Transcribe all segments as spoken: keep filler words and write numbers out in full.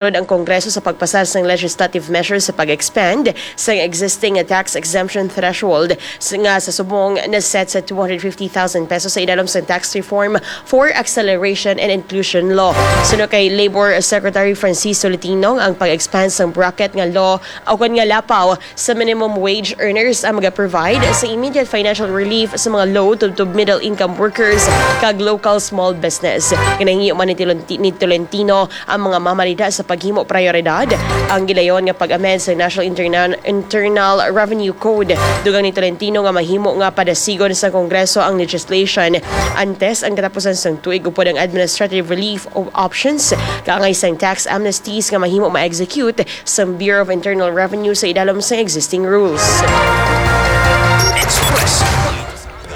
ang Kongreso sa pagpasar sang legislative measures sa pag-expand sang existing tax exemption threshold s-, nga sa subong na set sa two hundred fifty thousand pesos sa idalom sang tax reform for acceleration and inclusion law. Suno kay Labor Secretary Francis Tolentino, ang pag-expand sang bracket nga law o kon nga lapaw sa minimum wage earners ang maga-provide sa immediate financial relief sa mga low to, to middle income workers kag local small business. Ginahingyo man ni Tolenti-, ni Tolentino ang mga mamalida sa paghimo prioridad ang gilayon nga pag-amend sa National Interna-, Internal Revenue Code. Dugang ni Tolentino nga mahimo nga padasigon sa Kongreso ang legislation antes ang katapusan sang tuig upod ang administrative relief of options kaangay sang tax amnesties nga mahimo ma-execute sang Bureau of Internal Revenue sa idalom sang existing rules. Express.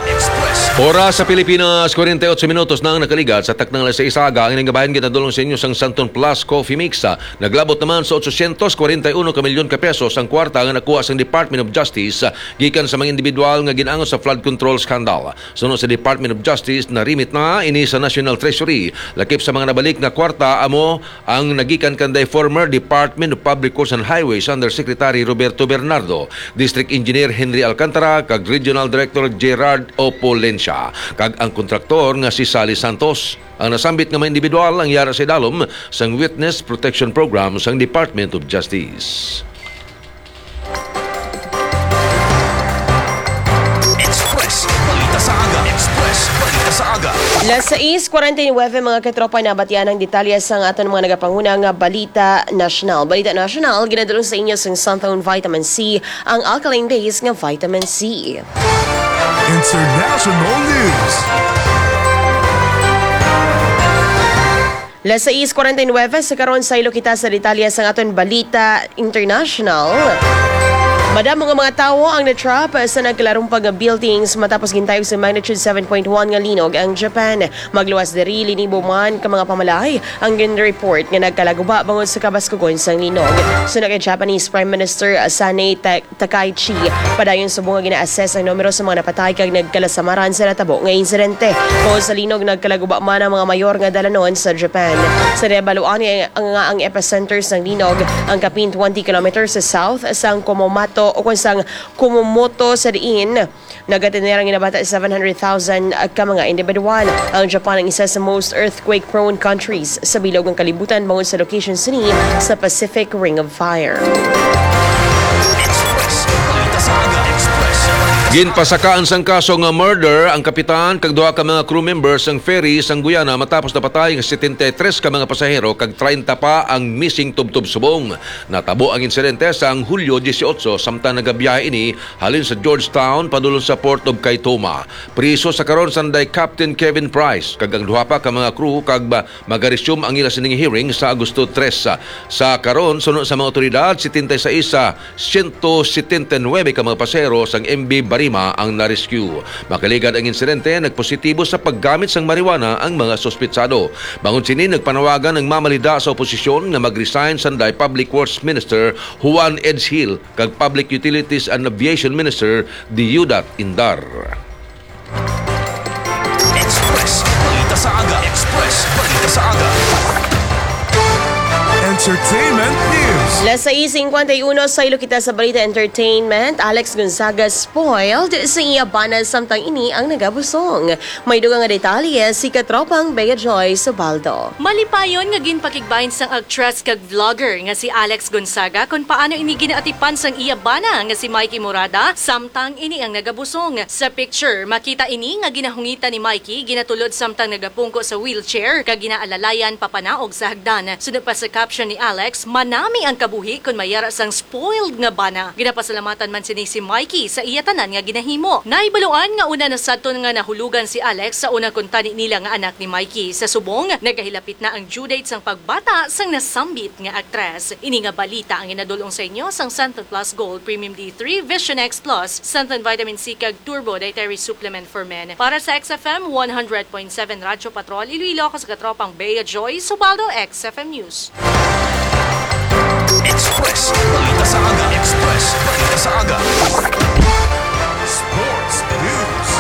Express. Oras sa Pilipinas, kwarenta y ocho minutos na ang nakaligat sa taknang alas sais aga. Ang ining kabahin ginadulong sa inyo sang Santon Plus Coffee Mix. Naglabot naman sa otsosyentos kwarenta y uno ka milyon ka pesos ang kwarta nga nakuha sang Department of Justice gikan sa mga individual nga gin-angot sa flood control scandal. Suno sa Department of Justice, na-remit na ini sa National Treasury. Lakip sa mga nabalik nga kwarta, amo ang nagikan kanday former Department of Public Works and Highways Undersecretary Roberto Bernardo, District Engineer Henry Alcantara, kag Regional Director Gerard Opulencia, kag ang kontraktor nga si Sally Santos. Ang nasambit nga mga individual ang yara sa idalom sang Witness Protection Program sang Department of Justice. Express Balita sa Aga. Express Balita sa Aga. Las sais kwarenta y nuebe, mga katropa, nabatian ang detalye sang aton mga nagapanguna nga balita nasyonal. Balita nasyonal, ginadulong sa inyo sang Santon Vitamin C, ang alkaline base nga vitamin C. International News. Las sais kwarenta y nuebe sa karon, saylo kita sa detalye sang aton balita international. Madamo nga mga tawo ang na-trap sa nagkalarumpag nga buildings matapos gintayog sa magnitude seven point one nga linog ang Japan. Magluwas diri, linibo man ka mga pamalaay ang gin-report nga nagkalaguba bangod sa kabaskugon sang linog. Suno kay Japanese Prime Minister Sanae Ta-, Takaichi, padayon subong nga gina-assess ang numero sa mga napatay kag nagkalasamaran sa natabo nga insidente. Bangod sa linog, nagkalaguba man ang mga mayor nga dalanon sa Japan. Sa nahibaluan nga, nga ang epicenter sang linog ang kapin twenty kilometers sa south sang Kumamoto o kon sang Kumamoto, sa diin nagatener ang ginabata seven hundred thousand ka mga individual. Ang Japan ang isa sa most earthquake-prone countries sa bilog nga kalibutan bangod sa location sini sa Pacific Ring of Fire. Express. Balita sa Aga. Express. Ginpasakaan sang kaso nga murder ang kapitan kag duha ka mga crew members sang ferry sang Guyana matapos napatay ang setenta y tres ka mga pasahero kag treinta pa ang missing tubtob subong. Natabo ang insidente sang Hulyo dieciocho, samtang nagabiyahe ini halin sa Georgetown padulong sa Port of Kaituma. Priso sa karon sanday Captain Kevin Price kag ang duha pa ka mga crew kag ba-, magaresume ang ila sining hearing sa Agosto tres. Sa karon, suno sa mga otoridad, setenta y seis sa siyento setenta y nuebe ka mga pasahero sang M V Barima ang na-rescue. Makaligad ang insidente, nagpositibo sa paggamit sang marijuana ang mga suspitsado. Bangod sini, nagpanawagan ang mamalida sa oposisyon nga mag-resign sanday Public Works Minister Juan Edghill kag Public Utilities and Aviation Minister Deudat Indar. Express Balita sa Aga. Express Balita sa Aga. Entertainment News. Las sais cincuenta y uno, saylo kita sa balita entertainment. Alex Gonzaga spoiled sa iya bana, samtang ini ang nagabusong. May dugang nga detalye si katropang Bea Joy Subaldo. Malipayon nga ginpakigbahin sang aktres kag vlogger nga si Alex Gonzaga kon paano ini ginaatipan sang iya bana nga si Mikey Morada, samtang ini ang nagabusong. Sa picture, makita ini nga ginahungitan ni Mikey, ginatulod samtang nagapungko sa wheelchair, kag ginaalalayan papanaog sa hagdan. Sunod pa sa caption ni Alex, "Manami ang kabuhi kon mayara sang spoiled nga bana." Ginapasalamatan man sini si Mikey sa iya tanan nga ginahimo. Nahibaluan nga una na sadton nga nahulugan si Alex sa unang kuntani nila nga anak ni Mikey. Sa subong, nagahilapit na ang due date sang pagbata sang nasambit nga aktres. Ini nga balita ang ginadul-ong sa inyo sang Santon Plus Gold, Premium D three, Vision X Plus, Santon Vitamin C, kag Turbo Dietary Supplement for Men. Para sa X F M one hundred point seven Radyo Patrol Iloilo, ako sa katropang Bea Joy Subaldo, X F M News. Express Balita sa Aga. Express Balita sa Aga. Sports News.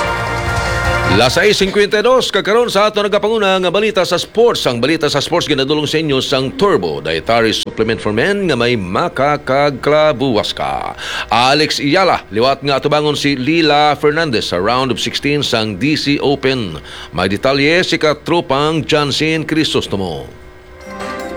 Las sais cincuenta y dos, kag karon sa ato nagapanguna nga balita sa sports. Ang balita sa sports ginadulong sa inyo sang Turbo Dietary Supplement for Men nga may makakagklabuwas ka. Alex Iyala, liwat nga atubangon si Lila Fernandez sa round of sixteen sang D C Open. May detalye si katropang Jansen Crisostomo.